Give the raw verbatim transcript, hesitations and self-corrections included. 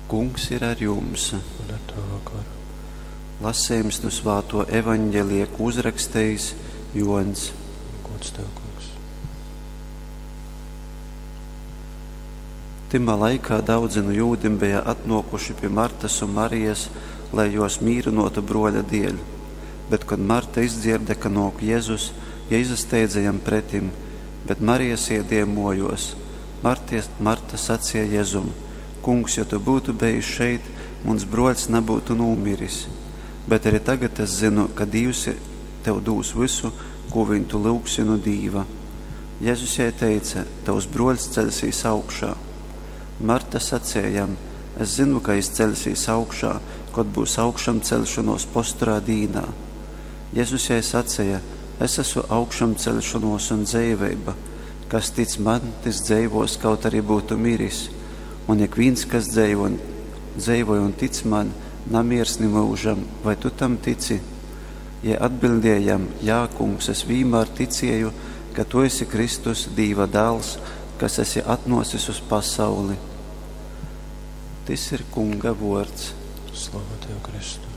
Kungs ir ar jums. Un ar tavu garu. Lasījums no svāto evaņģelija, ko uzrakstījis Jons. Gods tev, kungs. Timā laikā daudzi no jūdim bija atnokuši pie Martas un Marijas, lai jos mīrinotu broļa dēļ. Bet, kad Marta izdzirda, ka nāk Jēzus, ja izasteidza jam pretim, bet Marija sēdēja mojos. Marties, Marta sacīja Jēzum: Kungs, ja tu būtu bijis šeit, mans broļs nebūtu nomiris. Bet arī tagad es zinu, ka Dievs tev dūs visu, ko viņu tu lūgsi no Dīva. Jēzus jai teica: Tavs broļs celsīs augšā. Marta sacīja jam: Es zinu, ka jis celsīs augšā, kad būs augšām celšanos posturā dīnā. Jēzus jai sacīja: Es esmu augšām celšanos un dzīvība. Kas tic man, tas dzīvos, kaut arī būtu miris. Un ik viens, kas dzīvo, dzīvoja un tic man, namirs ni mūžam, vai tu tam tici? Ja atbildējam: Jā, kungs, es vienmēr ticēju, ka tu esi Kristus, Dīva dēls, kas esi atnosis uz pasauli. Tis ir Kunga vārds. Slava tev, Kristu.